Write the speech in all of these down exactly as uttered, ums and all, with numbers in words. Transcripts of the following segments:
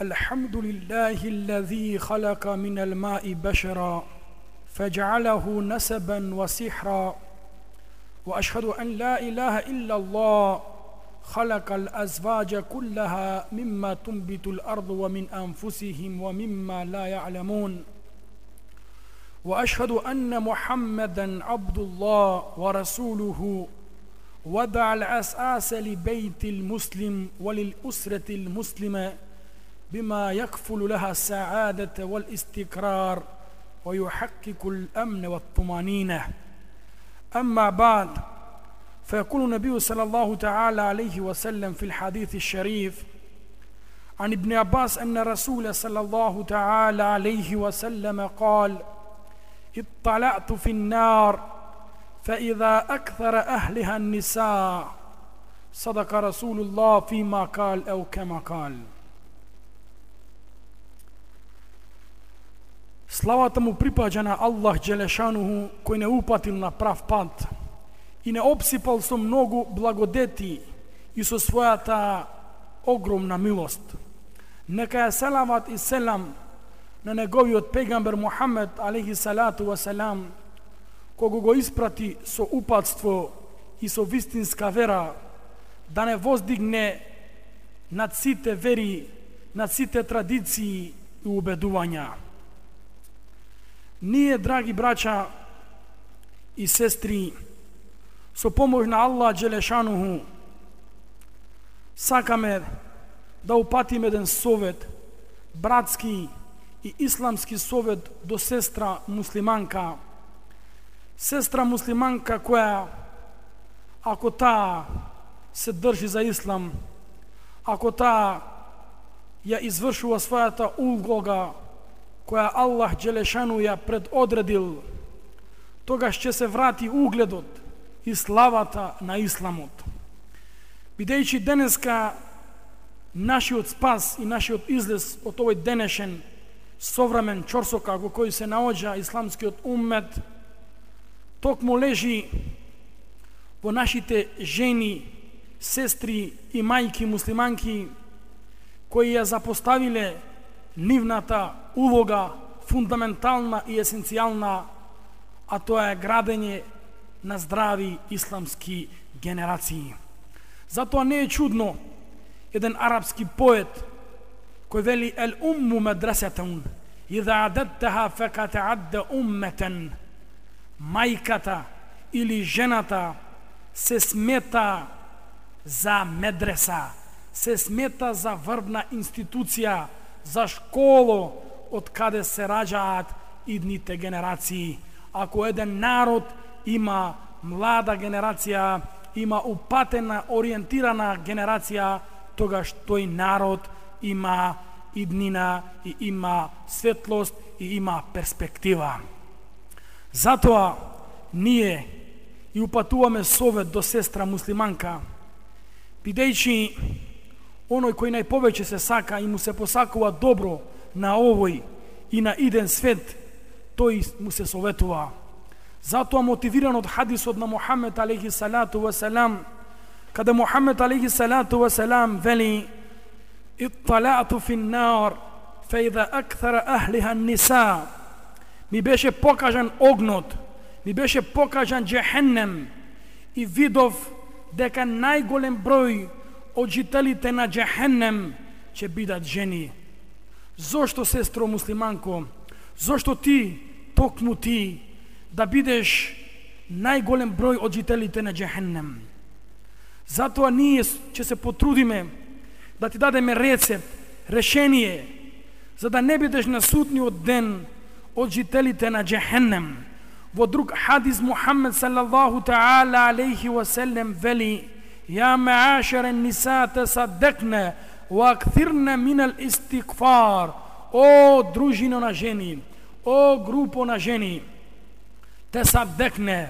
الحمد لله الذي خلق من الماء بشرا فجعله نسبا وسحرا وأشهد أن لا إله إلا الله خلق الأزواج كلها مما تنبت الأرض ومن أنفسهم ومما لا يعلمون وأشهد أن محمدا عبد الله ورسوله وضع الأساس لبيت المسلم وللأسرة المسلمة بما يكفل لها السعادة والاستقرار ويحقق الأمن والطمأنينة. أما بعد، فيقول النبي صلى الله تعالى عليه وسلم في الحديث الشريف عن ابن عباس أن رسول صلى الله تعالى عليه وسلم قال: اطلعت في النار فإذا أكثر أهلها النساء. صدق رسول الله فيما قال أو كما قال. Славата му припаѓа на Аллах Джелешануху, кој не упатил на прав пат и не обсипал со многу благодети и со својата огромна милост. Нека е салават и селам на неговиот пегамбер Мухамед алейхи салату ва салам, кого го испрати со упатство и со вистинска вера, да не воздигне над сите вери, над сите традиции и убедувања. Ние, драги браќа и сестри, со помош на Аллах Джелешануху, сакаме да упатиме еден совет, братски и исламски совет до сестра муслиманка. Сестра муслиманка која, ако таа се држи за ислам, ако таа ја извршува својата улога која Аллах Джелешану ја предодредил, тогаш ќе се врати угледот и славата на исламот. Бидејќи денеска нашиот спас и нашиот излез од овој денешен современ чорсокак во кој се наоѓа исламскиот уммет, токму лежи во нашите жени, сестри и мајки муслиманки, кои ја запоставиле нивната улога фундаментална и есенцијална, а тоа е градење на здрави исламски генерации. Затоа не е чудно еден арапски поет кој вели: ел умму медресетун иза адеттаха фекат адде умметен. Мајката или жената се смета за медреса, се смета за врбна институција, за школо од каде се раѓаат идните генерации. Ако еден народ има млада генерација, има упатена, ориентирана генерација, тогаш тој народ има иднина и има светлост и има перспектива. Затоа ние и упатуваме совет до сестра муслиманка, бидејќи оној кој најповеќе се сака и му се посакува добро на овој и на иден свет, тој му се советува. Затоа, мотивиран од хадисот на Мухамед алейхи салату ва салам, каде Мухамед алейхи салату ва салам вели: итталаъту фин нар фа иза акthara ахлиха ниса. Ми беше покажан огнот, ми беше покажан джехеннем и видов дека најголем број од жителите на джехеннем ќе бидат жени. Зошто, сестро муслиманко, зошто ти, токму ти, да бидеш најголем број од жителите на джехеннем? Затоа ние ќе се потрудиме да ти дадеме рецепт, решение, за да не бидеш на судниот ден од жителите на джехенем. Во друг хадис Мухаммед саллаллаху таала алейхи ва саллем вели: يا معاشر النساء تصدقن واكثرن من الاستغفار. О дружино на жени, о групо на жени, تصدقن,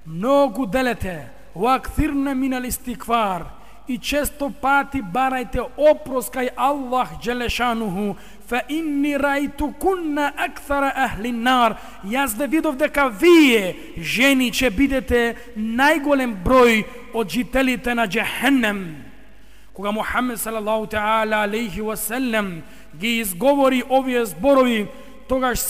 многу делете, واكثرن من الاستغفار, и често пати барајте опрос кај Аллах Джелешануху. Фа инни рајтукунна акthara ахли нар. Јас да видов дека вие, жени, ќе бидете најголем број од жителите на джехеннем. Кога Мухамед салаллаху таала алейхи ва саллем ги изговори овие зборови, тогаш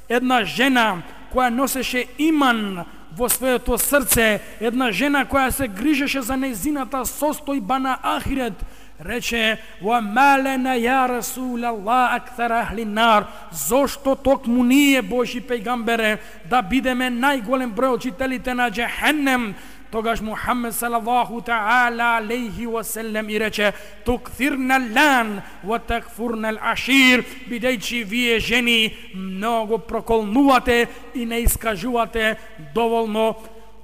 една жена која носеше иман во своето срце, една жена која се грижеше за нејзината состојба на ахирет, рече: "Ва малена ја Расулаллах акthar ahli nar", зошто токму ние, Божи пејгамбере, да бидеме најголем број од жителите на џехеннем? Тогаш Мухаммед салаллаху таала алейхи ва селем и рече: "Тукthirna al-lan wa takfurna al-ashir", бидејќи вие жени многу проколнувате и не искажувате доволно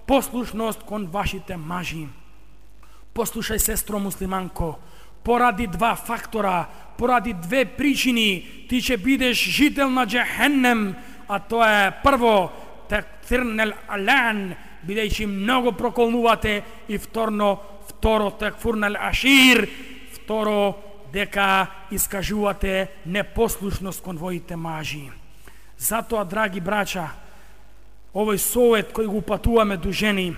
послушност кон вашите мажи. Послушај, сестро муслиманко, поради два фактора, поради две причини ти ќе бидеш жител на џехеннем, а тоа е прво такthirna al-lan, бидејќи многу проколнувате, и вторно, второ такфурна ал-ашир, второ дека искажувате непослушност кон воите мажи. Затоа, драги брача, овој совет кој го упатуваме до жени,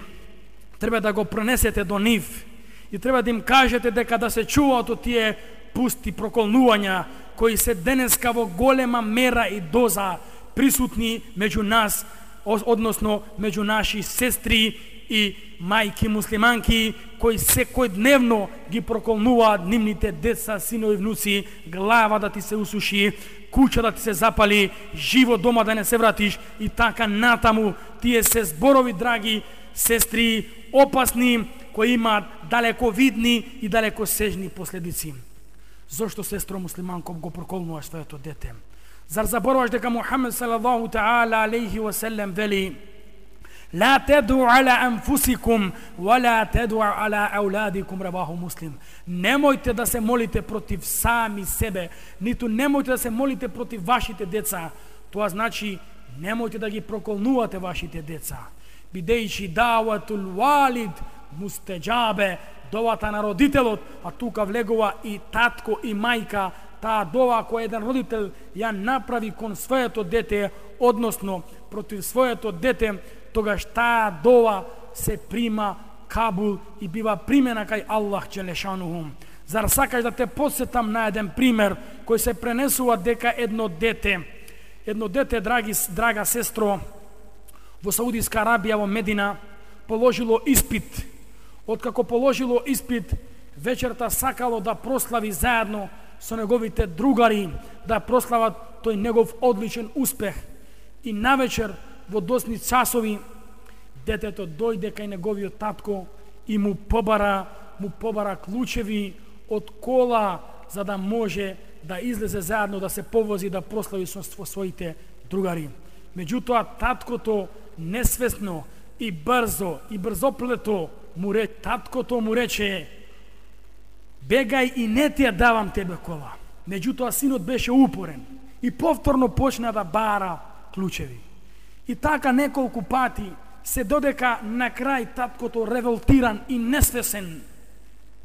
треба да го пренесете до нив и треба да им кажете дека да се чуваат од тие пусти проколнувања кои се денеска во голема мера и доза присутни меѓу нас, односно меѓу наши сестри и мајки муслиманки, кои секојдневно ги проколнуваат нивните деца, синови, внуци, глава да ти се усуши, куќа да ти се запали, живо дома да не се вратиш и така натаму. Тие се зборови, драги сестри, опасни, кои имаат далековидни и далекосежни последици. Зошто, сестро муслиманко, го проколнуваш своето дете? Зар забораваш дека Мухаммед салаллаху таала алейхи ва селем вели: "Ла таду ала анфусикум ва ла таду ала ауладикум", рабаху Муслим. Немојте да се молите против сами себе, ниту немојте да се молите против вашите деца. Тоа значи немојте да ги проколнувате вашите деца. Бидејќи даватул валид мустеджабе, довата на родителот, а тука влегува и татко и мајка, таа дова која еден родител ја направи кон своето дете, односно против своето дете, тогаш таа дова се прима кабул и бива примена кај Аллах џелешануху. Зар сакаш да те подсетам на еден пример кој се пренесува дека едно дете, едно дете, драги, драга сестро, во Саудиска Арабија, во Медина, положило испит. Откако положило испит, вечерта сакало да прослави заедно со неговите другари, да прослават тој негов одличен успех. И навечер, во досни часови, детето дојде кај неговиот татко и му побара, му побара клучеви од кола, за да може да излезе заедно, да се повози, да прослави со своите другари. Меѓутоа, таткото несвесно и брзо, и брзоплето му рече, таткото му рече: "Бегај и не ти ја давам тебе кола." Меѓутоа, синот беше упорен и повторно почна да бара клучеви. И така неколку пати, се додека на крај таткото, револтиран и несвесен,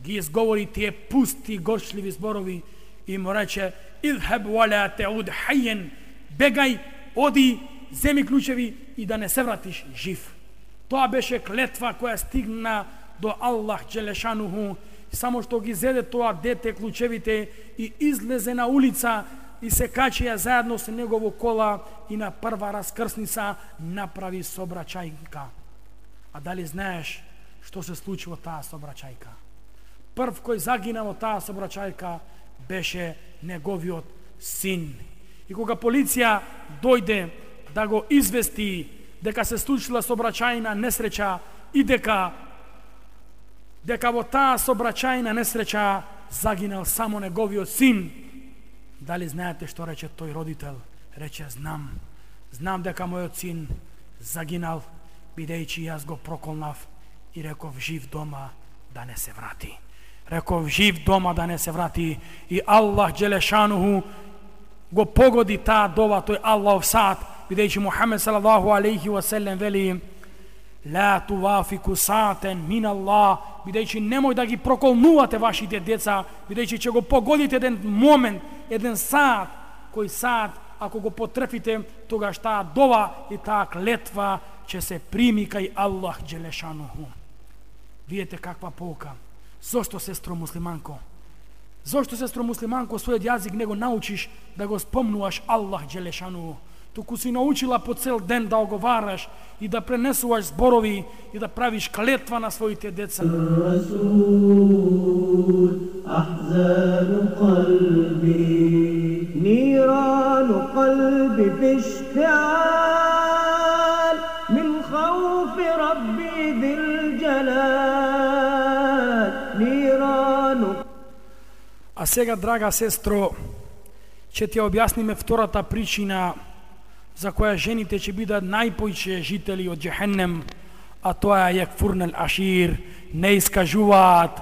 ги изговори тие пусти, горчливи зборови и му рече: "Идхаб вала тауд хайен", бегај, оди, земи клучеви и да не се вратиш жив. Тоа беше клетва која стигна до Аллах џелешануху. Само што ги зеде тоа дете клучевите и излезе на улица и се качија заедно со негово кола и на прва раскрсница направи собрачајка. А дали знаеш што се случи во таа собрачајка? Прв кој загина во таа собрачајка беше неговиот син. И кога полиција дојде да го извести дека се случила собрачајна несреќа и дека дека во таа собрачајна несреќа загинал само неговиот син, дали знаете што рече тој родител? Рече: "Знам, знам дека мојот син загинал, бидејќи јас го проколнав и реков жив дома да не се врати." Реков жив дома да не се врати и Аллах џелешануху го погоди таа дова, тој Аллахов саат, бидејќи Мухаммед салаллаху алейхи ва селем вели: "Ла тувафику саатен мин Аллах", бидејќи немој да ги проколнувате вашите деца, бидејќи ќе го погодите еден момент, еден саат, кој саат, ако го потрефите, тогаш таа дова и таа клетва ќе се прими кај Аллах џелешануху. Видете каква pouka. Зошто, сестро муслиманко? Зошто, сестро муслиманко, својот јазик не го научиш да го спомнуваш Аллах Джелешану, туку си научила по цел ден да оговараш и да пренесуваш зборови и да правиш клетва на своите деца. А сега, драга сестро, ќе ти објасниме втората причина за која жените ќе бидат најпојче жители од Джехеннем, а тоа е јекфурнел ашир, не искажуваат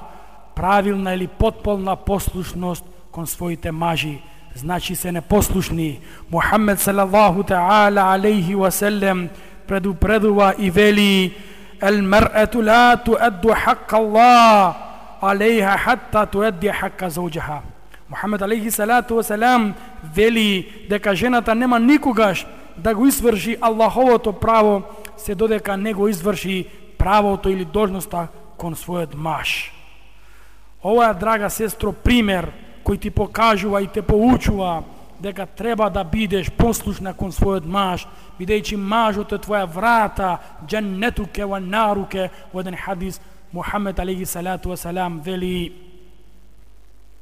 правилна или потполна послушност кон своите мажи, значи се непослушни. Мухаммед салаллаху таала алейхи ва селем предупредува и вели: "Ел мар'ату ла туадду хакка Аллах алейха хатта туадди хакка зауджаха." Мухаммед алейхи салату ва салам вели дека жената нема никогаш да го изврши Аллаховото право се додека не го изврши правото или должноста кон својот маж. Ова е, драга сестро, пример кој ти покажува и те поучува дека треба да бидеш послушна кон својот маж, бидејќи мажот е твоја врата, дженнетуке ва наруке. Во еден хадис Мухаммед алейхи салату ва салам вели: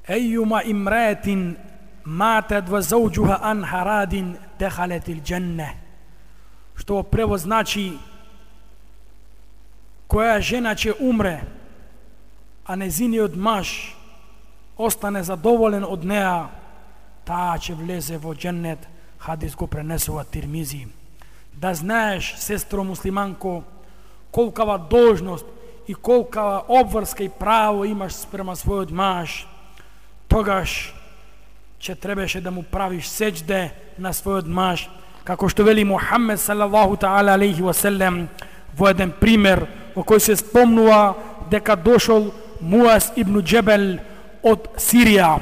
"Ејума имраетин матет ва зауджуха ан харадин дехалетил дженне." Што во превод значи: која жена ќе умре, а незиниот маж остане задоволен од неа, таа ќе влезе во дженнет. Хадис го пренесува Тирмизи. Да знаеш, сестро муслиманко, колкава должност и колкава обврска и право имаш спрема својот маж, тогаш ќе требаше да му правиш сеџде на својот маж, како што вели Мухаммед салаллаху таала алейхи ва селем во еден пример во кој се спомнува дека дошол Муаз ибн Джебел од Сирија,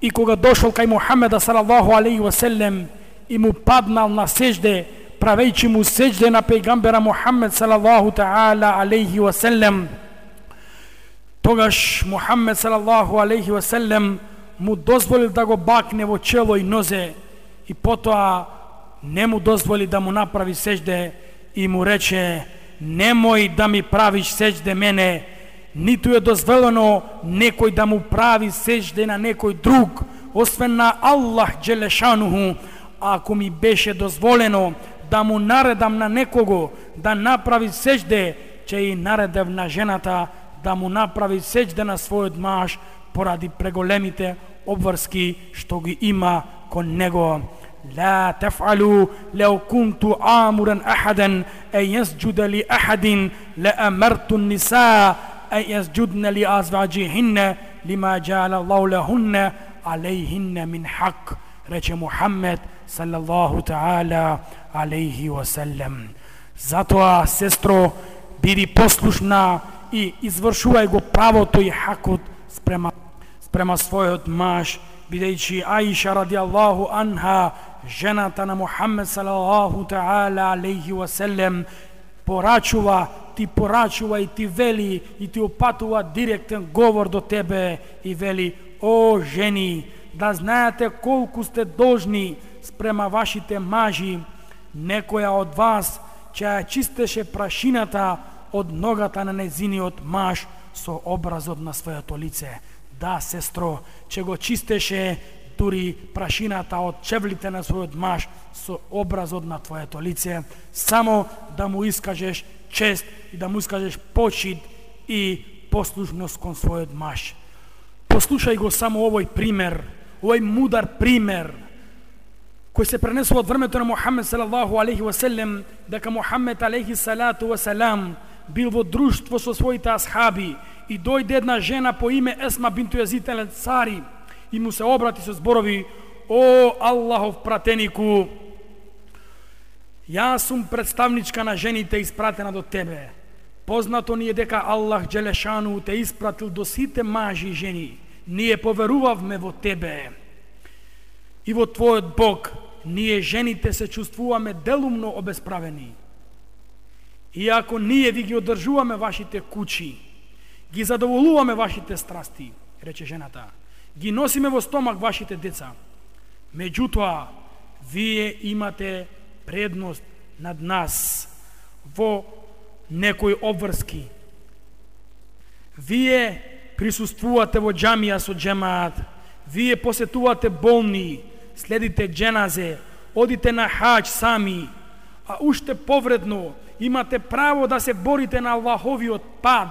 и кога дошол кај Мухаммеда салаллаху алейхи ва селем и му паднал на сеџде, правејќи му сеџде на пејгамбера Мухаммед салаллаху таала алейхи ва селем, тогаш Мухаммед салаллаху алейхи ва селем му дозволил да го бакне во чело и нозе, и потоа не му дозволи да му направи сеџде и му рече: "Немој да ми правиш сеџде мене, ниту е дозволено некој да му прави сеџде на некој друг, освен на Аллах Джелешануху. Ако ми беше дозволено да му наредам на некого да направи сеџде, ќе и наредев на жената да му направи сеџде на својот маж, поради преголемите обврски што ги има кон него. لا تفعلوا لو كنت آمرا أحدا أن يسجد لأحد لأمرت النساء أن يسجدن لأزواجهن لما جعل الله لهن عليهن من حق." Рече Мухаммед салаллаху таала алейхи ва селем. Затоа, сестро, биди послушна и извршувај го правото и хакот спрема, спрема својот маж, бидејќи Аиша радијаллаху анха, жената на Мухаммед салаллаху таала алейхи ва селем, порачува, ти порачува и ти вели и ти опатува директен говор до тебе и вели: "О жени, да знаете колку сте должни спрема вашите мажи. Некоја од вас ќе ја чистеше прашината од ногата на незиниот маж со образот на своето лице." Да, сестро, ќе го чистеше дури прашината од чевлите на својот маж со образот на твоето лице, само да му искажеш чест и да му искажеш почит и послушност кон својот маж. Послушај го само овој пример, овој мудар пример, кој се пренесува од времето на Мухаммед салаллаху алейхи ва селем, дека Мухаммед алейхи салату ва салам бил во друштво со своите асхаби и дојде една жена по име Есма бинту Јазид ел Ансари и му се обрати со зборови: "О Аллахов пратенику, јас сум представничка на жените испратена до тебе. Познато ни е дека Аллах Джелешану те испратил до сите мажи и жени. Ние поверувавме во тебе и во твојот Бог. Ние жените се чувствуваме делумно обесправени. И ако ние ви ги одржуваме вашите куќи, ги задоволуваме вашите страсти", рече жената, ги носиме во стомак вашите деца. Меѓутоа, вие имате предност над нас во некои обврски. Вие присуствувате во џамија со џемаат, вие посетувате болни, следите џеназе, одите на хаџ сами, а уште повредно имате право да се борите на Аллаховиот пат,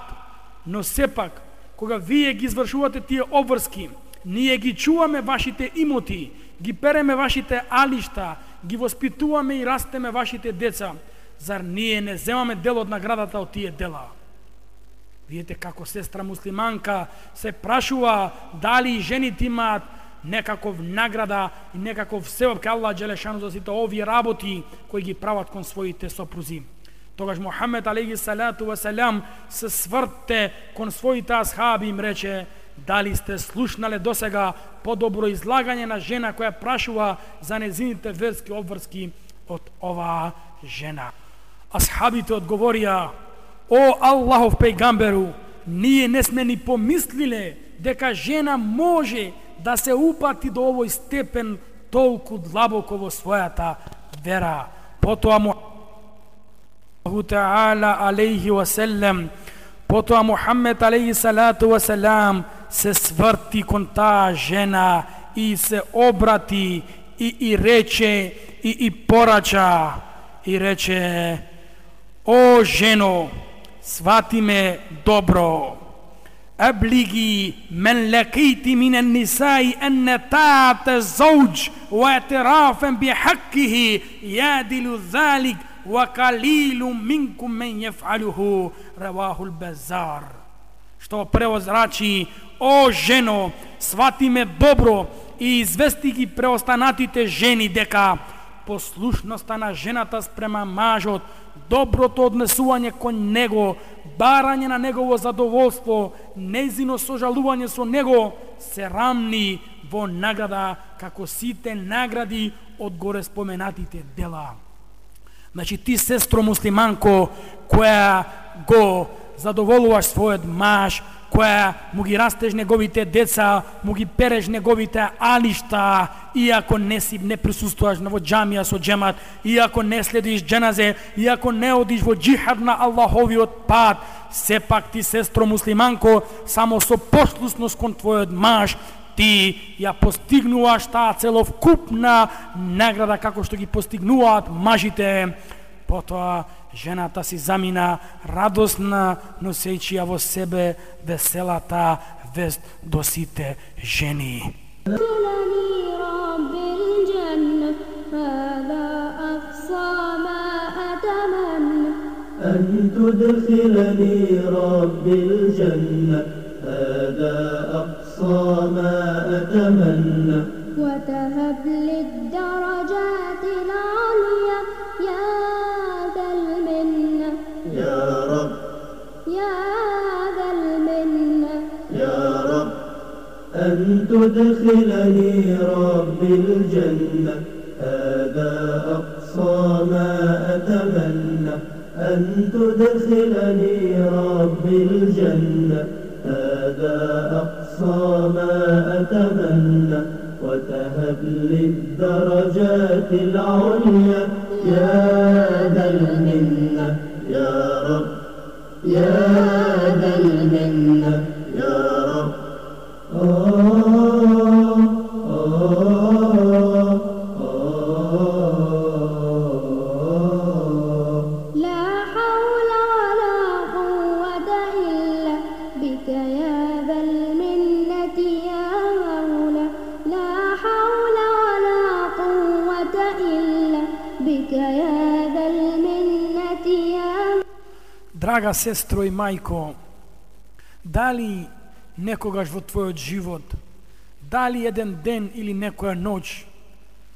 но сепак, кога вие ги извршувате тие обврски, ние ги чуваме вашите имоти, ги переме вашите алишта, ги воспитуваме и растеме вашите деца. Зар ние не земаме дел од наградата од тие дела? Видите како сестра муслиманка се прашува дали жените имаат некаков награда и некаков севап кај Аллах Джелешану за сите овие работи кои ги прават кон своите сопрузи. Тогаш Мухамед алейхи салату ва салам се сврте кон своите асхаби и им рече: дали сте слушнале досега подобро излагање на жена која прашува за незините верски обврски од оваа жена? Асхабите одговорија: о Аллахов пејгамберу, ние не сме ни помислиле дека жена може да се упати до овој степен толку длабоко во својата вера. Потоа му Таала алейхи ва селем, потоа Мухамед алейхи салату ва салам се сврти кон таа жена и се обрати и, и рече и, и порача и рече: о жено, свати ме добро. أبلغي من لقيت من النساء أن طاعة الزوج واعترافا بحقه يعدل ذلك وقليل منكم من يفعله. رواه البزار. Што превод значи: о жено, свати ме добро и извести ги преостанатите жени дека послушноста на жената спрема мажот, доброто однесување кон него, барање на негово задоволство, нејзино сожалување со него се рамни во награда како сите награди од горе споменатите дела. Значи ти, сестро муслиманко, која го задоволуваш својот маж, која му ги растеш неговите деца, му ги переш неговите алишта, иако не си не присуствуваш во џамија со џемат, иако не следиш џеназе, иако не одиш во џихад на Аллаховиот пат, сепак ти, сестро муслиманко, само со послушност кон твојот маж, ти ја постигнуваш таа целокупна награда како што ги постигнуваат мажите. Потоа жената си замина радосна, носејќи ја во себе веселата вест до сите жени. أن تدخلني رب الجنة هذا أقصى ما أتمنى وتهب لي الدرجات العليا يا ذا المنة يا رب يا ذا المنة يا رب أن تدخلني رب الجنة هذا أقصى ما أتمنى أن تدخلني رب الجنة هذا أقصى ما أتمنى وتهب لي الدرجات العليا يا ذا المنة يا رب يا ذا المنة يا رب. آه آه لا حول ولا قوة إلا بك يا ذا المنة يا مولا لا حول ولا قوة إلا بك يا ذا المنة يا. Драга сестро и мајко, дали некогаш во твојот живот, дали еден ден или некоја ноќ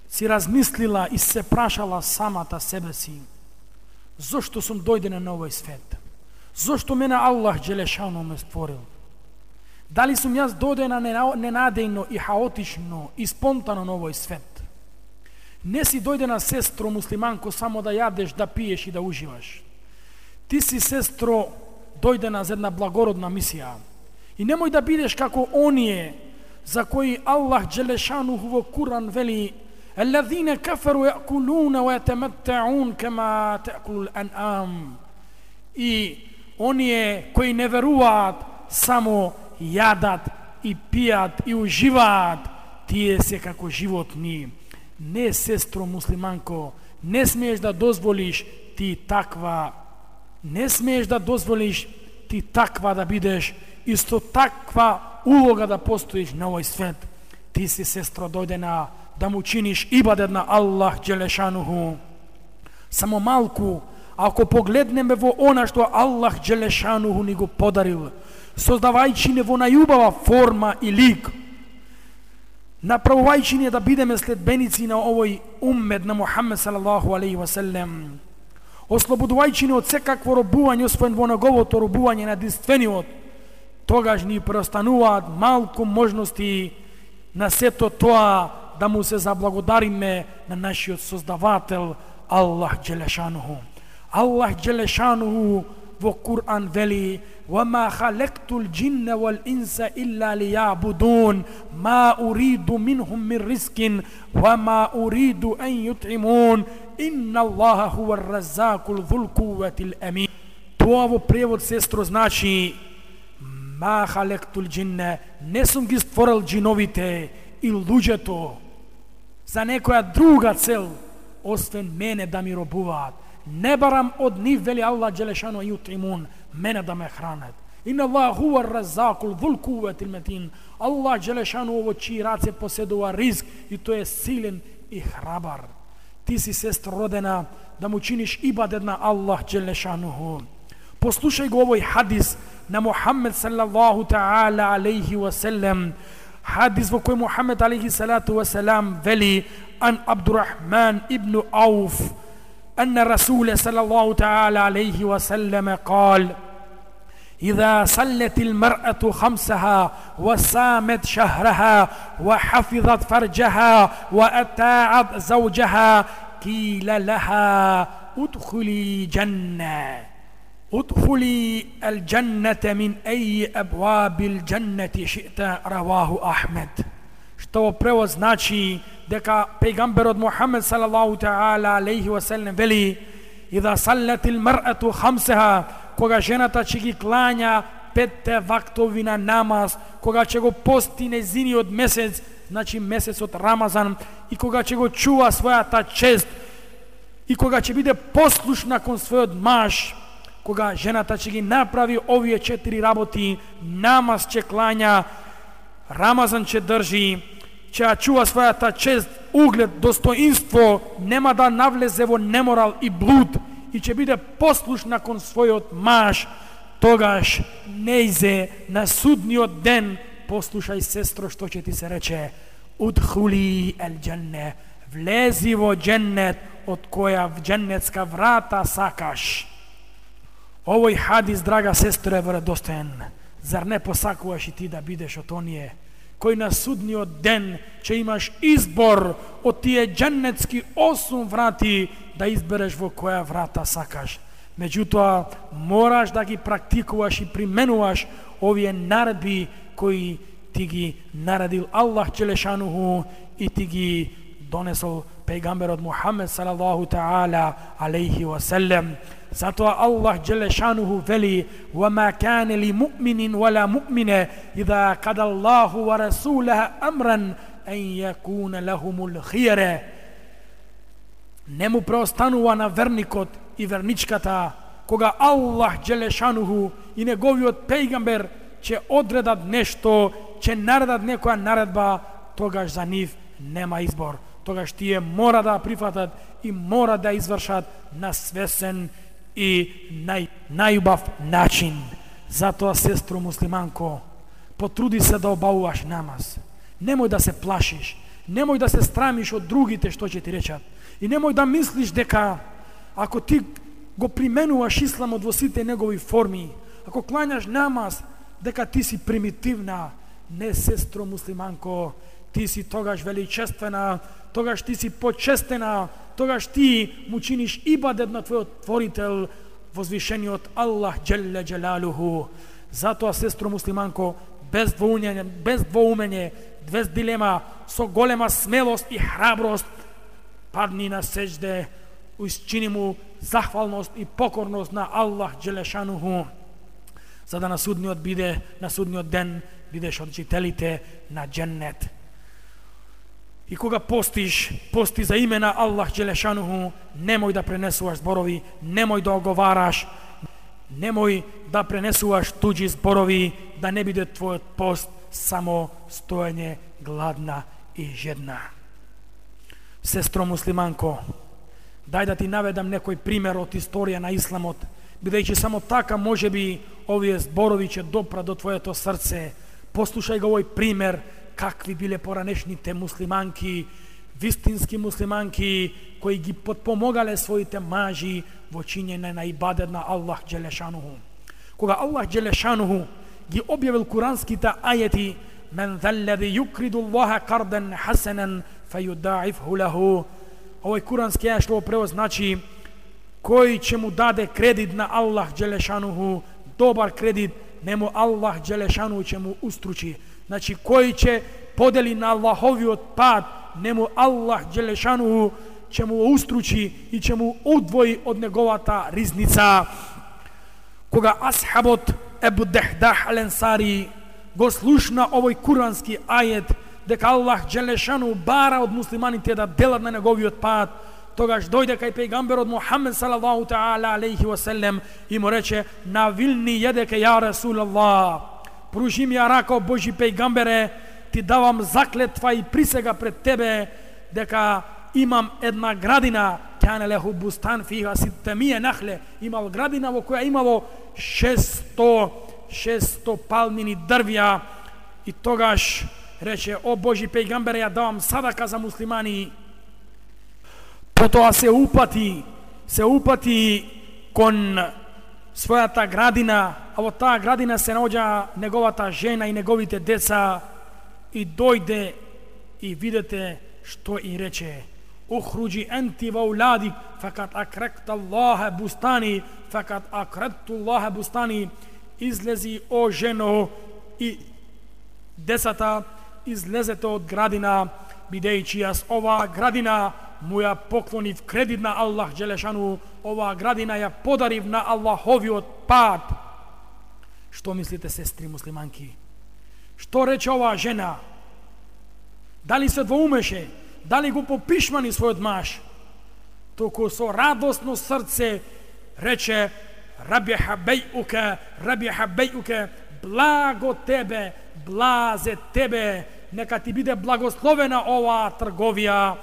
си размислила и се прашала самата себе си: зошто сум дојдена на овој свет? Зошто мене Аллах Джелешану ме створил? Дали сум јас дојдена ненадејно и хаотично и спонтано на овој свет? Не си дојдена, сестро муслиманко, само да јадеш, да пиеш и да уживаш. Ти си, сестро, дојдена за една благородна мисија. И немој да бидеш како оние за кои Аллах Джелешануху во Куран вели: "Аллазина кафару якулуна ва ятаматтаун кама таакулул ан'ам." И оние кои не веруваат само јадат и пијат и уживаат, тие се како животни. Не, сестро муслиманко, не смееш да дозволиш ти таква, не смееш да дозволиш ти таква да бидеш, исто таква улога да постоиш на овој свет. Ти си, сестро, дојдена да му чиниш ибадет на Аллах Джелешануху. Само малку, ако погледнеме во она што Аллах Джелешануху ни го подарил, создавајќи не во најубава форма и лик, направувајќи не да бидеме следбеници на овој уммет на Мухаммед салаллаху алейхи ва селем, ослободувајќи не од секакво робување освен во неговото робување на единствениот, тогаш ни преостануваат малку можности на сето тоа да му се заблагодариме на нашиот создавател Аллах Джелешануху. Аллах Джелешануху во Кур'ан вели: "Вама халактул джинна вал инса илля лијабудун, ма уриду минхум мин ризкин, вама уриду ан јут'имун, инна Аллаха хуа ар-раззакул ذул кувватил амин." Тоа во превод, сестро, значи: "Ма халактул джинна", не сум ги створил джиновите и луѓето за некоја друга цел, освен мене да ми робуваат. Не барам од нив, вели Аллах Джелешану, јутимун, мене да ме хранат. Инна Аллах хуа ар-раззакул ذул кувватил матин. Аллах Джелешану во чии раце поседува ризк и тој е силен и храбар. Ти си, сестро, родена да му чиниш ибадет на Аллах Джелешануху. Послушај го овој хадис на Мухаммед саллаллаху таала алейхи ва селем. Хадис во кој Мухаммед алейхи салату ва салам вели: "Ан Абдурахман ибн Ауф أن الرسول صلى الله تعالى عليه وسلم قال: إذا صلت المرأة خمسها وصامت شهرها وحفظت فرجها وأطاعت زوجها قيل لها ادخلي جنة ادخلي الجنة من أي أبواب الجنة شئت." رواه أحمد. Што превод значи дека пејгамберот Мухаммед салаллаху таала алейхи ва селем вели: "Ида саллатил мар'ату хамсаха", кога жената ќе ги клања петте вактови на намаз, кога ќе го пости незиниот месец, значи месецот Рамазан, и кога ќе го чува својата чест, и кога ќе биде послушна кон својот маж, кога жената ќе ги направи овие четири работи, намаз ќе клања, Рамазан ќе држи, ќе чува својата чест, углед, достоинство, нема да навлезе во неморал и блуд, и ќе биде послушна кон својот маж, тогаш нејзе на судниот ден, послушај, сестро, што ќе ти се рече: "Удхули ел дженне", влези во дженнет, од која в дженнетска врата сакаш. Овој хадис, драга сестро, е вредостоен. Зар не посакуваш и ти да бидеш од оние кој на судниот ден ќе имаш избор од тие дженнетски осум врати да избереш во која врата сакаш? Меѓутоа, мораш да ги практикуваш и применуваш овие наредби кои ти ги наредил Аллах Джелешануху и ти ги донесол пејгамберот Мухаммед салаллаху таала алейхи ва селем. Затоа Аллах Джелешануху вели: "Вама кане ли муъминин вала муъмине иза када Аллаху ва расулаха амран ан јакуна лахумул хијре." Не му преостанува на верникот и верничката, кога Аллах Джелешануху и неговиот пејгамбер ќе одредат нешто, ќе наредат некоја наредба, тогаш за нив нема избор. Тогаш тие мора да прифатат и мора да извршат на свесен и нај, најубав начин. Затоа, сестро муслиманко, потруди се да обавуваш намаз. Немој да се плашиш, немој да се страмиш од другите што ќе ти речат. И немој да мислиш дека ако ти го применуваш исламот во сите негови форми, ако клањаш намаз, дека ти си примитивна. Не, сестро муслиманко, ти си тогаш величествена, тогаш ти си почестена, тогаш ти му чиниш ибадет на твојот творител, возвишениот Аллах Джелле Джелалуху. Затоа, сестро муслиманко, без двоумење, без двоумење, без дилема, со голема смелост и храброст, падни на сеџде, учини му захвалност и покорност на Аллах Джелешануху, за да на судниот биде, на судниот ден бидеш од жителите на дженнет. И кога постиш, пости за име на Аллах Джелешануху, немој да пренесуваш зборови, немој да оговараш, немој да пренесуваш туѓи зборови, да не биде твојот пост само стоење гладна и жедна. Сестро муслиманко, дај да ти наведам некој пример од историја на исламот, бидејќи само така може би овие зборови ќе допра до твоето срце. Послушај го овој пример, какви биле поранешните муслиманки, вистински муслиманки, кои ги подпомогале своите мажи во чинење на ибадет на Аллах Джелешануху. Кога Аллах Джелешануху ги објавил куранските ајети, мен заллази юкриду Аллаха кардан хасанан фајудаифху лаху, овој курански ајет што превод значи кој ќе му даде кредит на Аллах Джелешануху, добар кредит, нему Аллах Джелешануху ќе му устручи. Значи кој ќе подели на Аллаховиот пат, нему Аллах Джелешануху ќе му устручи и ќе му одвои од неговата ризница. Кога асхабот Ебу Дехдах Ал-Ансари го слушна овој курански ајет, дека Аллах Джелешануху бара од муслиманите да делат на неговиот пат, тогаш дојде кај пејгамберот Мухаммед салаллаху таала алейхи ва селем и му рече: навилни једеке ја Расулаллах, пружи ми ја рака, Божи пејгамбере, ти давам заклетва и присега пред тебе дека имам една градина, кане леху бустан фиха ситтемие нахле, имал градина во која имало шесто палмини дрвја, и тогаш рече: о Божи пејгамбере, ја давам садака за муслимани. Потоа се упати, се упати кон својата градина, а во таа градина се наоѓа неговата жена и неговите деца, и дојде и видете што и рече: ухруджи енти ва уладик факат акректа Аллаха бустани факат акректу Аллаха бустани, излези о жено и децата, излезете од градина, бидејќи јас оваа градина му ја поклонив кредит на Аллах Джелешану, оваа градина ја подарив на Аллаховиот пат. Што мислите, сестри муслиманки? Што рече оваа жена? Дали се двоумеше? Дали го попишмани својот маж? Току со радосно срце рече: рабиха бејуке, рабиха бејуке, благо тебе, блазе тебе, нека ти биде благословена оваа трговија,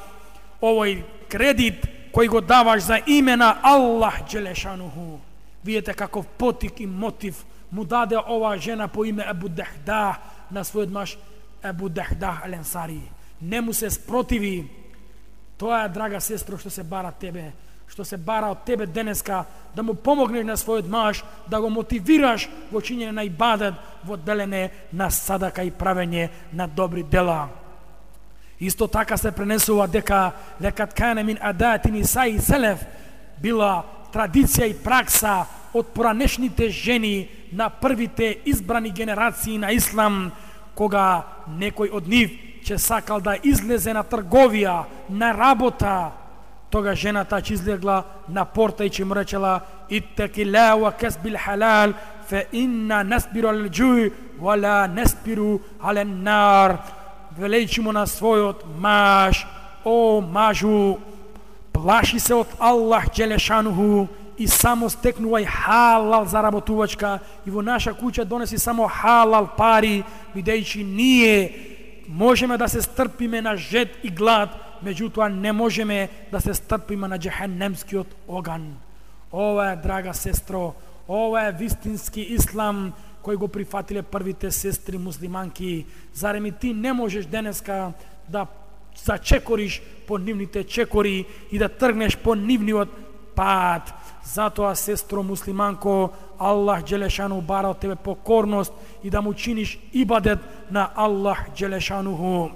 овој кредит кој го даваш за име на Аллах Джелешануху. Видете каков потик и мотив му даде оваа жена по име Ебу Дехдах на својот маж Ебу Дехдах Ал-Ансари. Не му се спротиви. Тоа е, драга сестро, што се бара тебе, што се бара од тебе денеска, да му помогнеш на својот маж, да го мотивираш во чинење на ибадет, во делење на садака и правење на добри дела. Исто така се пренесува дека лекат кане мин адати нисаи селеф, била традиција и пракса од поранешните жени на првите избрани генерации на ислам, кога некој од нив ќе сакал да излезе на трговија, на работа, тога жената ќе излегла на порта и ќе му речела: иттеки ла ва касбил халал фе инна насбиру ал џуј ва ла насбиру ал нар. Велејќи му на својот маж: о мажу, плаши се од Аллах Джелешануху и само стекнувај халал заработувачка, и во наша куќа донеси само халал пари, бидејќи ние можеме да се стрпиме на жед и глад, меѓутоа не можеме да се стрпиме на џехенемскиот оган. Ова е, драга сестро, ова е вистински ислам кој го прифатиле првите сестри муслиманки. Зарем и ти не можеш денеска да зачекориш по нивните чекори и да тргнеш по нивниот пат? Затоа, сестро муслиманко, Аллах Джелешану бара од тебе покорност и да му чиниш ибадет на Аллах Джелешануху.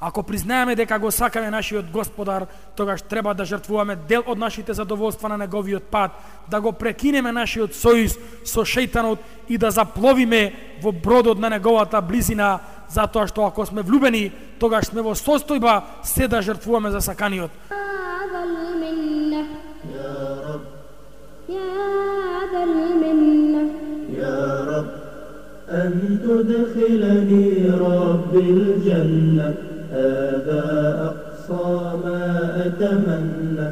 Ако признаеме дека го сакаме нашиот Господар, тогаш треба да жртвуваме дел од нашите задоволства на неговиот пат, да го прекинеме нашиот сојуз со шејтанот и да запловиме во бродот на неговата близина, затоа што ако сме влюбени, тогаш сме во состојба се да жртвуваме за саканиот. أن تدخلني رب الجنة هذا أقصى ما أتمنى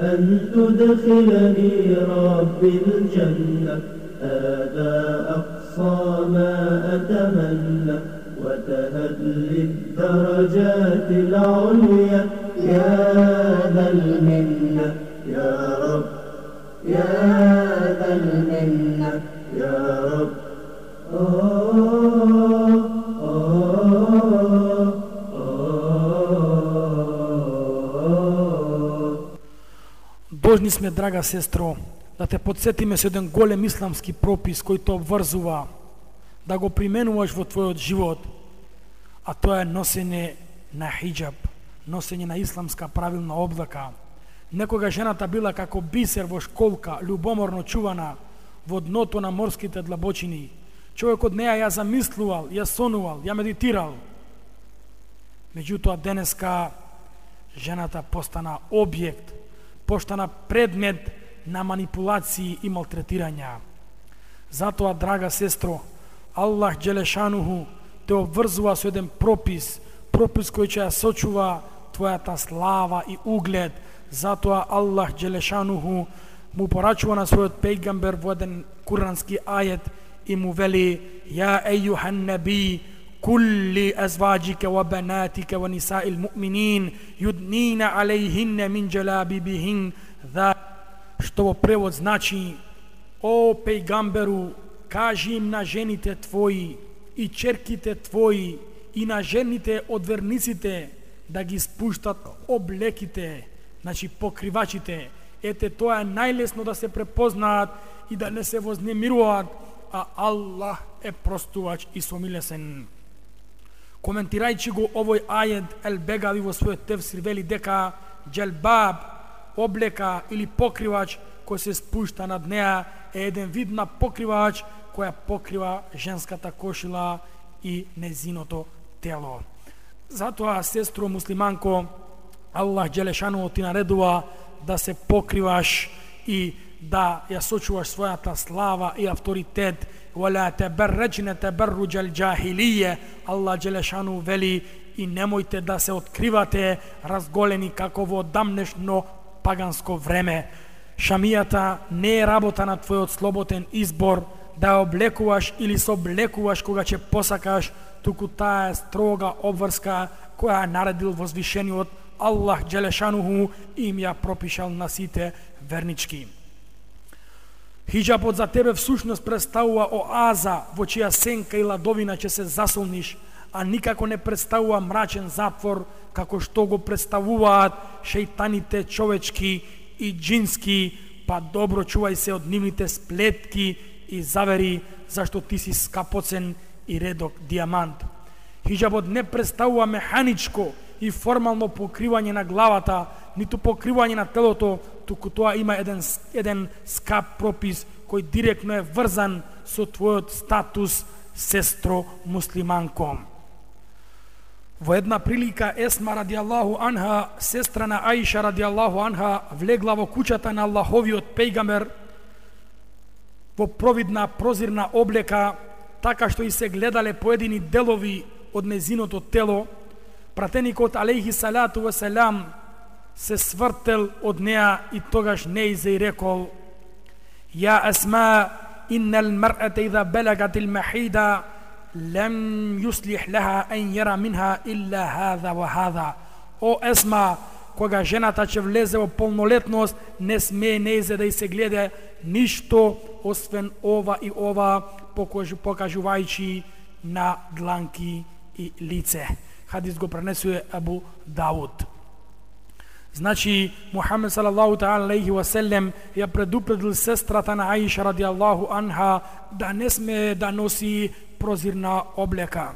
أن تدخلني رب الجنة هذا أقصى ما أتمنى وتهب لي الدرجات العليا يا ذا المنة يا رب يا ذا المنة يا رب. Должни сме, драга сестро, да те подсетиме со еден голем исламски пропис кој те обврзува да го применуваш во твојот живот, а тоа е носење на хиджаб, носење на исламска правилна облака. Некога жената била како бисер во школка, љубоморно чувана во дното на морските длабочини. Човек од неја ја замислувал, ја сонувал, ја медитирал. Меѓутоа денеска жената постана објект, постана предмет на манипулации и малтретирања. Затоа, драга сестро, Аллах Джелешануху те обврзува со еден пропис, пропис кој ќе ја сочува твојата слава и углед. Затоа Аллах Джелешануху му порачува на својот пејгамбер во еден курански ајет и му вели: "Ја ејухан наби, кулли азваджика ва банатика ва нисаил муъминин юднина алейхинна мин джалабибихин", што во превод значи: "О пејгамберу, кажи им на жените твои и черките твои и на жените од верниците да ги спуштат облеките", значи покривачите. Ете, тоа е најлесно да се препознаат и да не се вознемируваат, а Аллах е простувач и somilesen. Коментирајќи го овој ајет, Ел-Бегави во својот тефсир вели дека джелбаб, облека или покривач кој се спушта над неа е еден вид на покривач која покрива женската кошила и незиното тело. Затоа, сестро муслиманко, Аллах Джелешану ти наредува да се покриваш и да ја сочуваш својата слава и авторитет. وَلَا تَبَرَّجْنَ تَبَرُّجَ الْجَاهِلِيَّ. Аллах Джелешану вели: и немојте да се откривате разголени како во дамнешно паганско време. Шамијата не е работа на твојот слободен избор да ја облекуваш или се облекуваш кога ќе посакаш, туку таа е строга обврска која наредил возвишениот Аллах Джелешануху и им ја пропишал на сите вернички. Хиджабот за тебе всушност представува оаза во чија сенка и ладовина ќе се засолниш, а никако не представува мрачен затвор како што го представуваат шејтаните човечки и джински, па добро чувај се од нивните сплетки и завери, зашто ти си скапоцен и редок дијамант. Хиджабот не представува механичко и формално покривање на главата, ниту покривање на телото, туку тоа има еден, еден скап пропис кој директно е врзан со твојот статус, сестро муслиманко. Во една прилика Есма радијаллаху анха, сестра на Аиша радијаллаху анха, влегла во куќата на Аллаховиот пејгамбер во провидна прозирна облека, така што и се гледале поедини делови од незиното тело. Пратеникот алейхи салату ва салам се свртел од неа и тогаш нејзе и рекол: "Ја Асма, иннал мар'ата идha балагат al-mahida лем юслих лаха ан јара минха илла хаза ва хаза." О Есма, кога жената ќе влезе во полнолетност, не смее нејзе да и се гледа ништо освен ова и ова, покажувајќи на дланки и лице. Хадис го пренесува Абу Дауд. Значи, Мухамед салаллаху таала алейхи ва селем ја предупредил сестрата на Аиша радијаллаху анха да не сме да носи прозирна облека.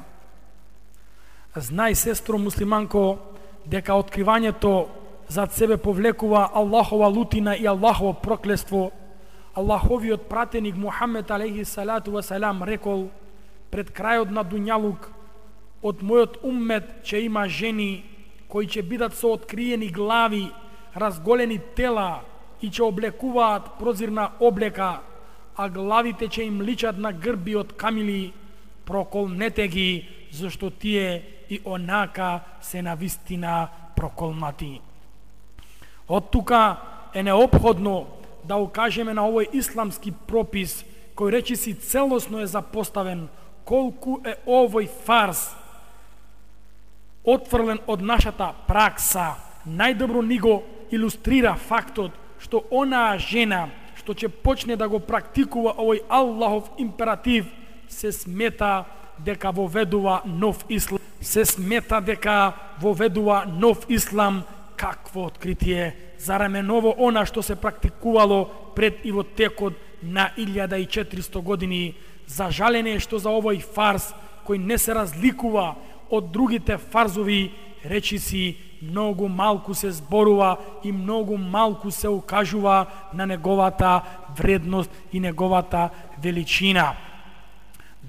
Знај, сестро муслиманко, дека откривањето зад себе повлекува Аллахова лутина и Аллахово проклество. Аллаховиот пратеник Мухамед алейхи салату ва салам рекол пред крајот на дуњалук: од мојот уммет ќе има жени кои ќе бидат со откриени глави, разголени тела и ќе облекуваат прозирна облека, а главите ќе им личат на грби од камили. Проколнете ги, зашто тие и онака се навистина проколнати. Од тука е неопходно да укажеме на овој исламски пропис, кој речиси целосно е запоставен, колку е овој фарс отфрлен од нашата пракса. Најдобро ни го илустрира фактот што онаа жена што ќе почне да го практикува овој Аллахов императив се смета дека воведува нов ислам. Се смета дека воведува нов ислам. Какво откритие! Зарем е ново она што се практикувало пред и во текот на илјада и четиристо години. За жалење што за овој фарс, кој не се разликува од другите фарзови, речиси многу малку се зборува и многу малку се укажува на неговата вредност и неговата величина.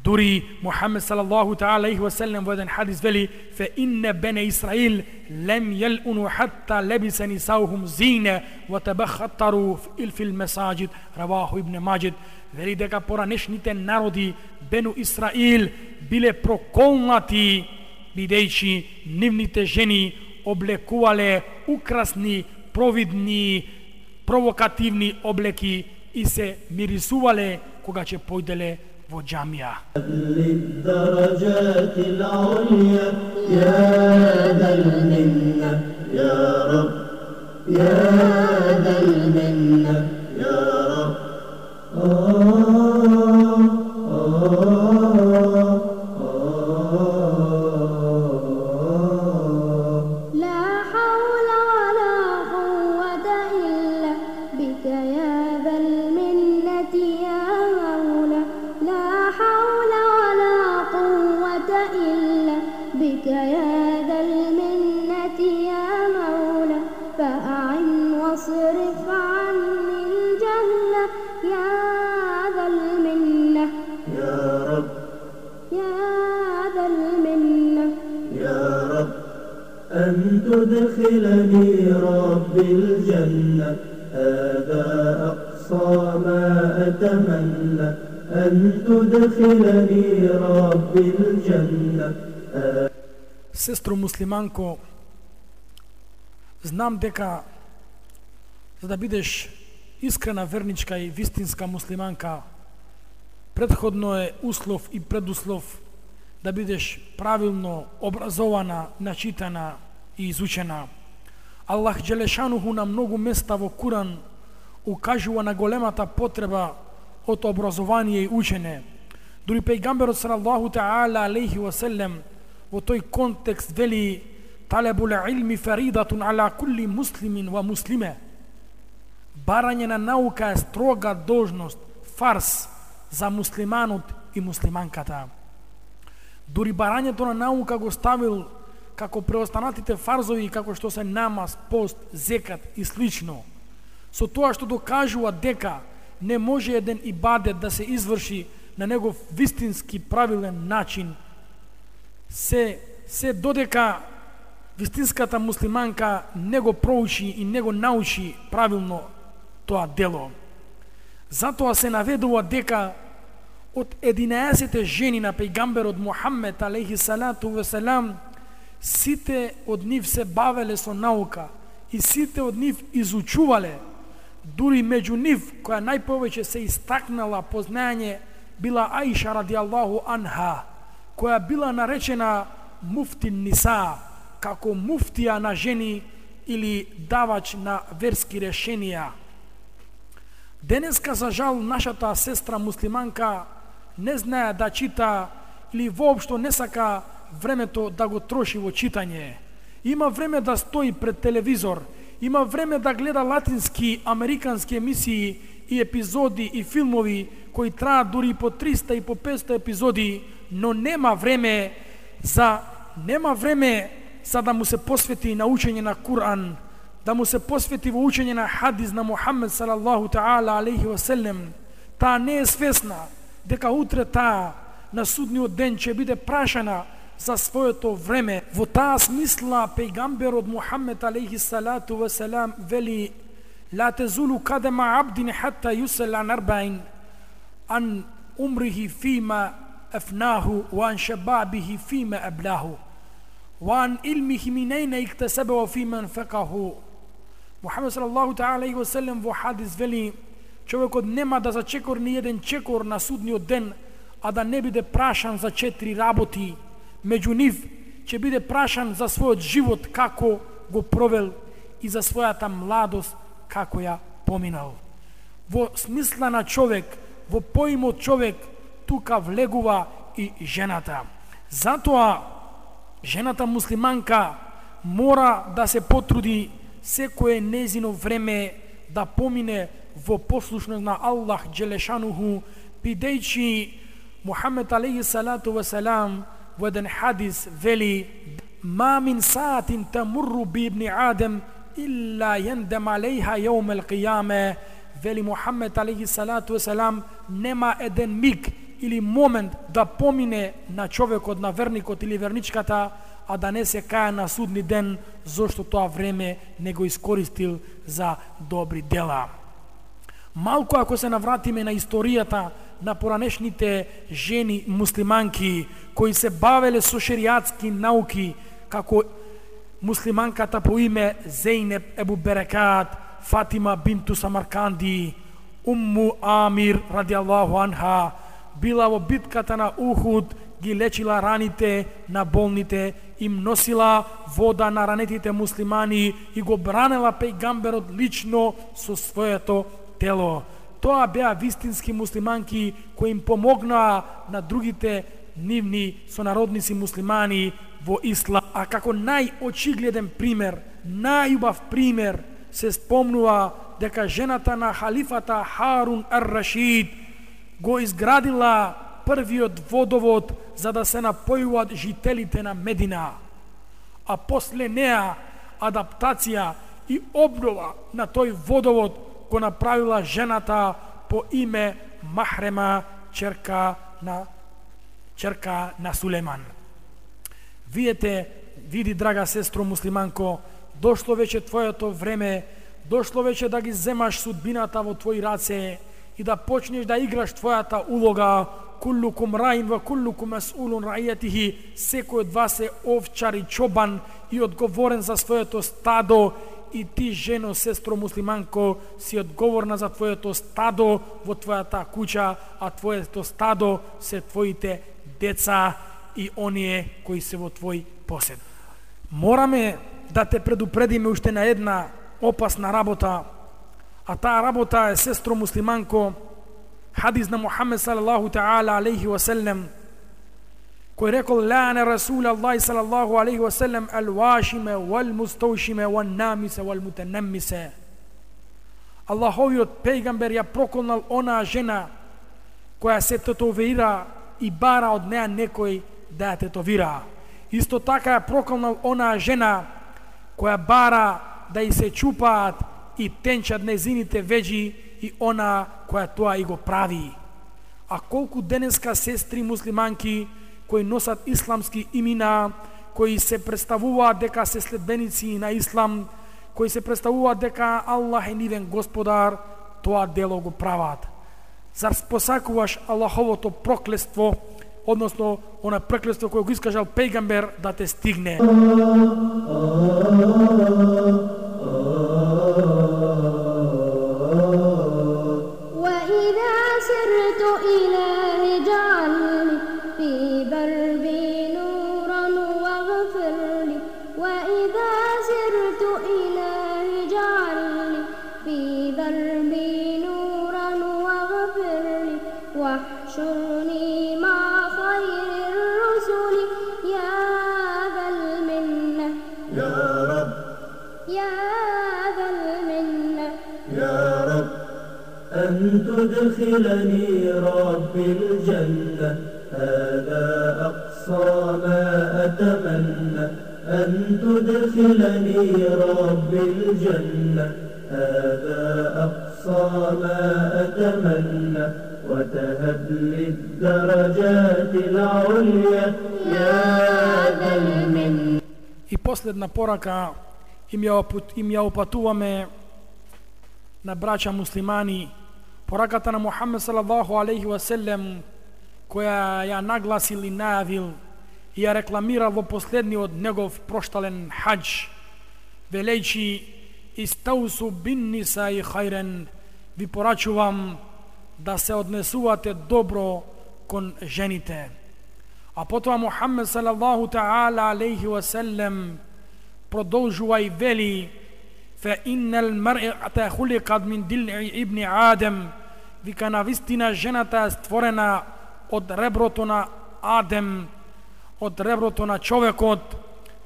Дури Мухамед салаллаху таала алейхи ва селем во еден хадис вели: фе инне бене Исраил лем јелуну хатта лебиса нисаухум зине ва табахаттару фил месаджид. Раваху ибн Маджид. Вели дека поранешните народи Бену Исраил биле проколнати бидејќи нивните жени облекувале украсни, провидни, провокативни облеки и се мирисувале кога ќе појделе во џамија. تدخلني رب الجنة هذا أقصى ما أتمنى أن تدخلني رب الجنة. Сестро муслиманко, знам дека за да бидеш искрена верничка и вистинска муслиманка, предходно е услов и предуслов да бидеш правилно образована, начитана и изучена. Аллах Джелешануху на многу места во Куран укажува на големата потреба од образование и учење. Дури пејгамберот салаллаху таала алейхи ва селем во тој контекст вели: талебул илми фаридатун ала кулли муслимин ва муслиме. Барање на наука е строга должност, фарс за муслиманот и муслиманката. Дури барањето на наука го ставил како преостанатите фарзови, како што се намаз, пост, зекат и слично, со тоа што докажува дека не може еден ибадет да се изврши на негов вистински правилен начин, се, се додека вистинската муслиманка не го проучи и не го научи правилно тоа дело. Затоа се наведува дека од единаесет жени на пејгамберот Мухамед алейхи салату ва салам, сите од нив се бавеле со наука и сите од нив изучувале. Дури меѓу нив, која најповеќе се истакнала по знаење, била Аиша радијаллаху анха, која била наречена муфтин ниса, како муфтија на жени или давач на верски решенија. Денеска, за жал, нашата сестра муслиманка не знае да чита или воопшто не сака времето да го троши во читање. Има време да стои пред телевизор, има време да гледа латински, американски емисии и епизоди и филмови кои траат дури по триста и по петста епизоди, но нема време за нема време за да му се посвети на учење на Кур'ан, да му се посвети во учење на хадис на Мухамед салаллаху таала алейхи ва селем, таа не е свесна дека утре таа на судниот ден ќе биде прашана за своето време. Во таа смисла пејгамберот Мухамед алейхи салату ва селам вели: ла тезулу кадема абдин хатта юсел ан арбаин ан умрихи фима афнаху ва ан шабабихи фима аблаху ва ан илмихи мин ајна иктасаба ва фима анфакаху. Мухамед салаллаху таала алейхи ва селем во хадис вели: човекот нема да зачекор ни еден чекор на судниот ден, а да не биде прашан за четири работи. Меѓу нив ќе биде прашан за својот живот како го провел и за својата младост како ја поминал. Во смисла на човек, во поимот човек, тука влегува и жената. Затоа жената муслиманка мора да се потруди секое незино време да помине во послушност на Аллах Джелешануху, бидејќи Мухамед алейхи салату ва салам во еден хадис вели: ма мин саатин тамурру би ибни Адем илла јендем алейха јаум ел қияме. Вели Мухамед алейхи салату ва салам, нема еден миг или момент да помине на човекот, на верникот или верничката, а да не се каја на судни ден, зашто тоа време не го искористил за добри дела. Малку ако се навратиме на историјата на поранешните жени муслиманки кои се бавеле со шеријатски науки, како муслиманката по име Зейнеп Ебу Берекат, Фатима бинту Самарканди, Умму Амир радијаллаху анха, била во битката на Ухуд, ги лечила раните на болните, им носила вода на ранетите муслимани и го бранела пејгамберот лично со своето тело. Тоа беа вистински муслиманки кои им помогнаа на другите нивни сонародници муслимани во ислам. А како најочигледен пример, најубав пример, се спомнува дека жената на халифата Харун ар-Рашид го изградила првиот водовод за да се напојуваат жителите на Медина, а после неа адаптација и обнова на тој водовод го направила жената по име Махрема, черка на черка на Сулейман. Видете, види, драга сестро муслиманко, дошло веќе твоето време, дошло веќе да ги земаш судбината во твои раце и да почнеш да играш твојата улога. Куллукум раин ва куллукум мас'улун раијатихи. Секој од вас е овчар и чобан и одговорен за своето стадо. И ти, жено, сестро муслиманко, си одговорна за твоето стадо во твојата куќа, а твоето стадо се твоите деца и оние кои се во твој посед. Мораме да те предупредиме уште на една опасна работа, а таа работа е, сестро муслиманко, хадис на Мухамед салаллаху таала алейхи ва селем, кој рекол: ла'ана Расулаллахи салаллаху алейхи ва селем ал-вашиме вал-мустаушиме ван-намисе вал-мутанаммисе. Аллаховиот пејгамбер ја проколнал онаа жена која се тетовира и бара од неа некој да ја тетовира. Исто така ја проколнал онаа жена која бара да и се чупаат и тенчат незините веџи и она која тоа и го прави. А колку денеска сестри муслиманки кои носат исламски имена, кои се представуваат дека се следбеници на ислам, кои се представуваат дека Аллах е нивен господар, тоа дело го прават. Зар посакуваш Аллаховото проклество, односно она проклество кое го искажал пејгамбер, да те стигне? تدخلني رب الجنة هذا أقصى ما أتمنى أن تدخلني ربي الجنة هذا أقصى ما أتمنى وتهب لي الدرجات العليا يا ذا المنة. И последна порака им ја, им ја опатуваме на браќа муслимани, пораката на Мухаммед салаллаху алейхи ва селем, која ја нагласил и најавил и ја рекламирал во последниот негов проштален хаџ, велејќи истаусу бин нисаи хајрен, ви порачувам да се однесувате добро кон жените. А потоа Мухаммед салаллаху таала алейхи ва селем продолжува и вели: фа иннал мар'ата хулиқат мин дил'i ибни Адем, вика навистина жената е створена од реброто на Адем, од реброто на човекот,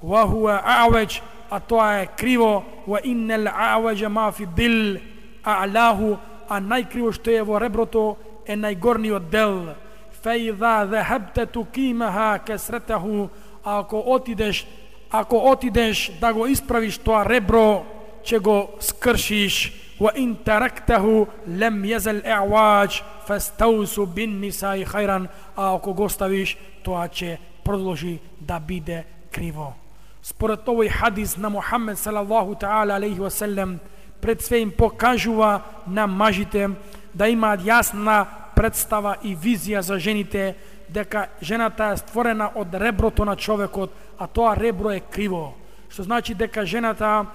ва хуа а'ваџ, а тоа е криво, ва иннал а'ваџа ма фи дил а'лаху, а најкриво што е во реброто е најгорниот дел. Фаидha dhahabta tuqimaha kasratahu, ако отидеш ако отидеш да го исправиш тоа ребро, ќе го скршиш. Wa in taraktahu lam yazal i'waj fastawsu bin nisa'i khairan, а ако го ставиш, тоа ќе продолжи да биде криво. Според овој хадис на Мухаммед салаллаху таала алейхи ва селем, пред све им покажува на мажите да имаат јасна представа и визија за жените, дека жената е створена од реброто на човекот, а тоа ребро е криво. Што значи дека жената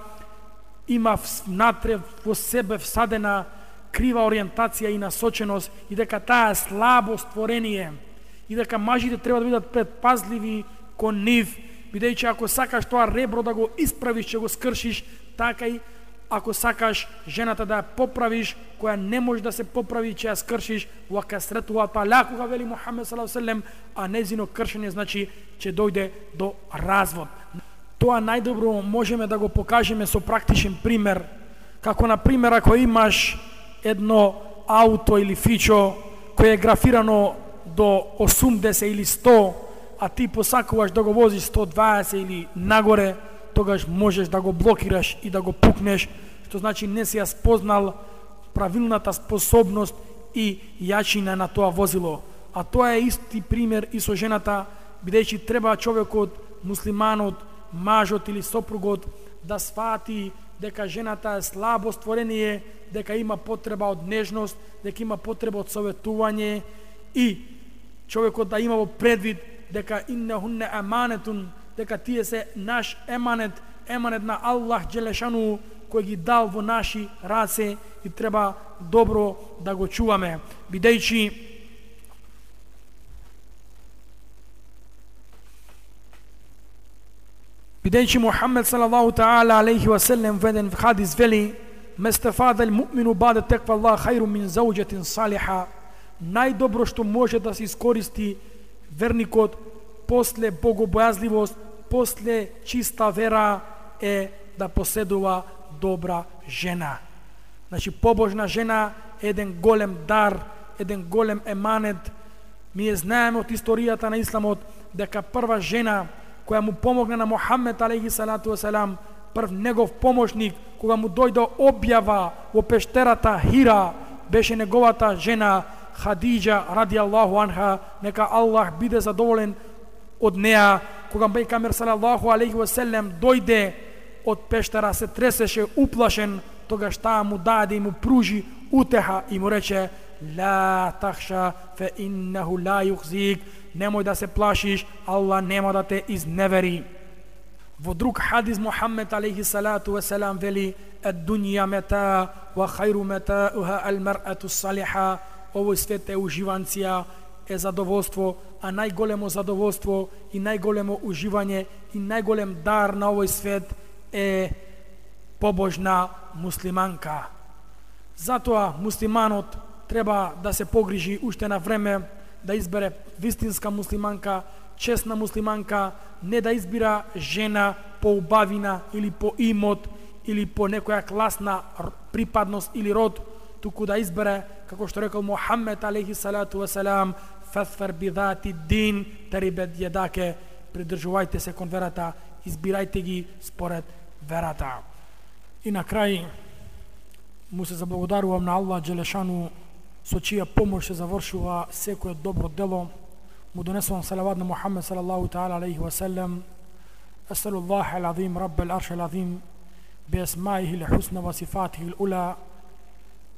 има внатре во себе всадена крива ориентација и насоченост, и дека таа е слабо створение, и дека мажите треба да бидат предпазливи кон нив, бидејќи ако сакаш тоа ребро да го исправиш, ќе го скршиш, така и ако сакаш жената да ја поправиш, која не може да се поправи, ќе ја скршиш. Ва касретуа талаку, вели Мухаммед саллаллаху алейхи ва селем, а незино кршење значи ќе дојде до развод. Тоа најдобро можеме да го покажеме со практичен пример, како на пример ако имаш едно ауто или фичо кое е графирано до осумдесет или сто, а ти посакуваш да го возиш сто дваесет или нагоре, тогаш можеш да го блокираш и да го пукнеш, што значи не си ја спознал правилната способност и јачина на тоа возило. А тоа е исти пример и со жената, бидејќи треба човекот, муслиманот, мажот или сопругот да свати дека жената е слабо створение, дека има потреба од нежност, дека има потреба од советување, и човекот да има во предвид дека иннахунна аманетун, дека тие се наш еманет, еманет на Аллах Джелешану, кој ги дал во наши раце, и треба добро да го чуваме, бидејќи бидејќи Мухаммед салаллаху таала алейхи ва селем веден в хадис вели: местафадал муъмину баде теква Аллах хајру мин зауџетин салиха, најдобро што може да се искористи верникот после богобојазливост, после чиста вера, е да поседува добра жена. Значи, побожна жена е еден голем дар, еден голем еманет. Ние знаеме од историјата на исламот дека прва жена која му помогна на Мухаммед алейхи салату васелам, прв негов помошник, кога му дојде објава во пештерата Хира, беше неговата жена Хадиџа радијаллаху анха, нека Аллах биде задоволен од неа. Кога пејгамбер салаллаху алейхи ва селем дојде од пештера, се тресеше уплашен, тогаш таа му даде и му пружи утеха и му рече: ла тахша фе иннаху ла юхзик, немој да се плашиш, Аллах нема да те изневери. Во друг хадис Мухаммед алейхи салату васелам вели: ад-дунја мета ва хајру метауха ал-мар'ату салиха, овој свет е уживанција, е задоволство, а најголемо задоволство и најголемо уживање и најголем дар на овој свет е побожна муслиманка. Затоа муслиманот треба да се погрижи уште на време да избере вистинска муслиманка, честна муслиманка, не да избира жена по убавина или по имот или по некоја класна припадност или род, туку да избере, како што рекол Мухаммед алейхи салату васелам: фаthfar бидати дин тарибет јадаке, придржувајте се кон верата, избирајте ги според верата. И на крај му се заблагодарувам на Аллах Джелешану, со чија помош се завршува секое добро дело. Му донесувам салават на Мухаммед салаллаху таала алейхи ва селем. Асалуллах ал-азим, Рабб al-Arsh al-Azim, بأسمائه الحسنى وصفاته الأولى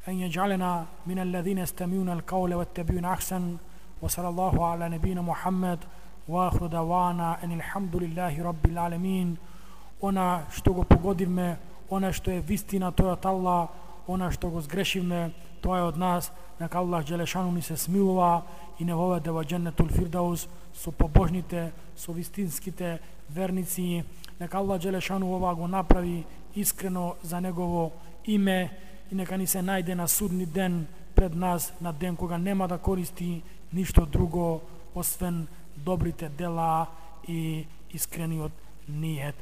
أن يجعلنا من الذين يستمعون القول ويتبعون أحسن. وصلى الله على نبينا محمد وآخر دعوانا أن الحمد لله رب العالمين. Ona što го погодивме, ona što je вистина, тоа од Аллах, она што го сгрешивме, тоа е од нас. Нека Аллах Джелешану ни се смилува и не воведе во Дженнетул Фирдаус со побожните, со вистинските верници. Нека Аллах Джелешану ова го направи искрено за негово име и нека ни се најде на судни ден пред нас, на ден кога нема да користи ништо друго освен добрите дела и искрениот ниет.